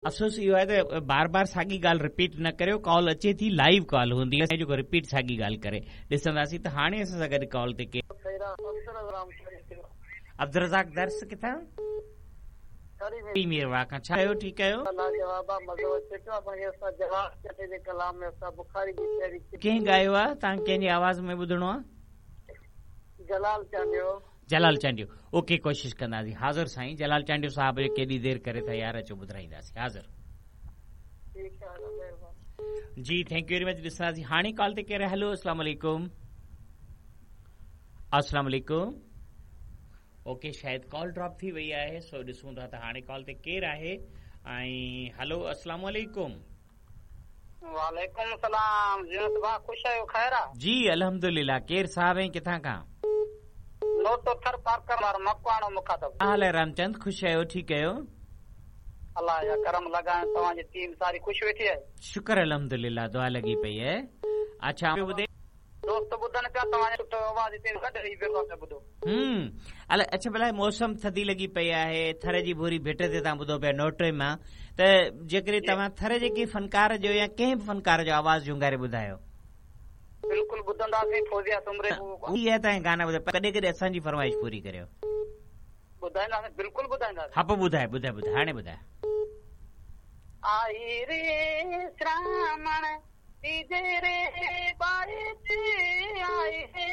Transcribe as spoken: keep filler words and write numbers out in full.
अफ़सोस इहो आहे त बार बार साॻी ॻाल्हि रिपीट न करियो, कॉल अचे थी, लाइव कॉल हूंदी आहे जेको रिपीट साॻी ॻाल्हि करे। ॾिसंदासीं त हाणे असां सां गॾु कॉल ते केरु। अब्दुल रज़ाक दर्स किथां? मीरवाह खां। छा कयो, ठीकु आहियो? कंहिं ॻायो आहे? तव्हां कंहिंजी आवाज़ में ॿुधणो आहे? जलाल चांडियो। जलाल चांडियो, ओके, कोशिश कंदासीं। हाज़िर साईं, जलाल चांडियो साहब जो केॾी देरि करे था यार, अचो ॿुधाईंदासीं। हाज़िर जी, thank you very much. ॾिसंदासीं हाणे कॉल ते केरु। हेलो, अस्सलाम वालेकुम। अस्सलाम वालेकुम। ओके, शायदि कॉल ड्रॉप थी वई आहे, सो ॾिसूं था त हाणे कॉल ते केरु आहे। ऐं हेलो, अस्सलाम वालेकुम। वालेकुम सलाम। जीअं भाउ, ख़ुशि आहियो? ख़ैर आहे? जी अल्हम्दुलिल्लाह। केरु साहब ऐं किथां खां? नोटो थर पार्कर वारो मकवाणो मुखातब। हाल आहे रामचंद, ख़ुशि आहियो? ठीकु आहियो? अलाह जा करम लॻाए, तव्हांजी टीम सारी ख़ुशि वेठी आहे? शुक्र अल्हम्दुलिल्लाह, दुआ लॻी पई आहे। अच्छा ॿुधे दोस्त ॿुधनि पिया तव्हांजो सुठो आवाज़ हिते गॾु रही पियो आहे ॿुधो। हम्म अला अच्छा, भला मौसम थधी लॻी पई आहे, थर जी भूरी भेट ते तव्हां ॿुधो पिया नोटे मां, त जेकॾहिं तव्हां थर जे कंहिं फनकार जो या कंहिं बि फनकार जो आवाज़ झुंगारे ॿुधायो। बिल्कुलु ॿुधंदासीं। फौजिया सुमरे इहा तव्हां गाना ॿुधायो, कॾहिं कॾहिं असांजी फरमाइश पूरी करियो। ॿुधाईंदासीं, बिल्कुलु ॿुधाईंदासीं। हा, पोइ ॿुधाए ॿुधाए ॿुधाए, हाणे ॿुधाए। आई रे श्रावण तीजे रे बाई आई।